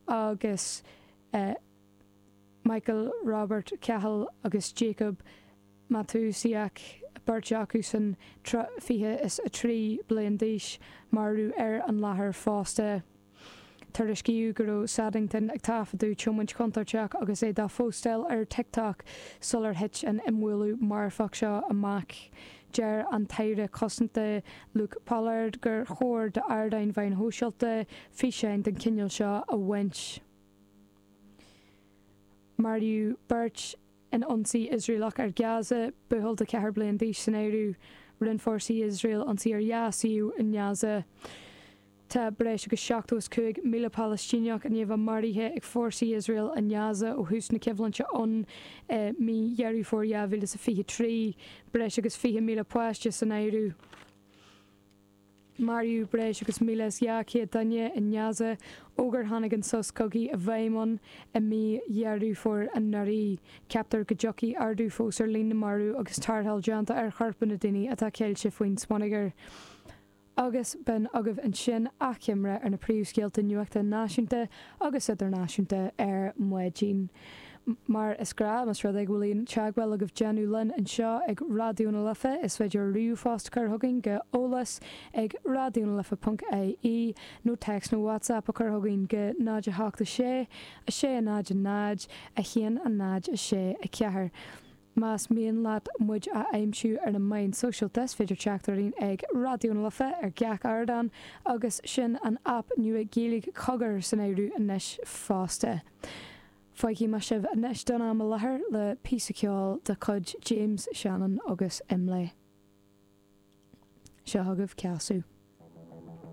Agus Michael Robert Cahill agus Jacob Matusiak, beirt acusan 23 bliain d'aois, maraithe ar an láthair fosta. Tuairiscíodh go raibh Saddington ag taifeadadh tiomáint chontúirteach agus é dá phóstáil ar TikTok sular thit an imbhualadh marfach seo amach. Deir an tAire Cosanta Luke Pollard gur chóir d'ardáin mheáin shóisialta físeáin den chineál seo a bhaint. Maraíodh beirt in ionsaí Iosraelach ar Gaza, buachaill de 4 bliain d'aois san áireamh. Rinne fórsaí Iosrael ionsaí ar dhá suíomh i nGaza. Tá breis agus 75,000 Palaistíneach i ndiaidh a bheith maraithe ag fórsaí Iosrael i nGaza ó thús na coimhlinte ann i mí Dheireadh Fómhair 2023, breis agus 20,000 páiste san áireamh. Maraíodh breis agus 1,200 duine i nGaza ó gur tháinig an sos cogaidh i bhfeidhm ann i mí Dheireadh Fómhair anuraidh. Ceaptar go dtiocfaidh ardú fós ar líon na marbh agus tarrtháil déanta ar choirp na ndaoine atá ceilte faoin smionagar. Agus b'in agaibh ansin achoimre ar na príomhscéalta nuachta náisiúnta agus idirnáisiúnta ar maidin. Mar is gnáth, más rud é go bhfuil aon teagmháil agaibh déanamh linn anseo ag Raidió na Life, is féidir ríomhphost a chur chugainn go eolas ag raidionalife ponc ie nó téacs nó WhatsApp a chur chugainn go 0 8 6 6 0 0 1 0 6 4. Más mian leat muid a aimsiú ar na meáin sóisialta, is féidir teacht orainn ag Raidió na Life ar gach ardán agus sin an aip nua Gaeilge Cogar san áireamh anois fosta. Fágfaidh mé sibh anois don am i láthair le píosa ceoil de chuid James Shannon agus Imlé. Seo chugaibh Casadh.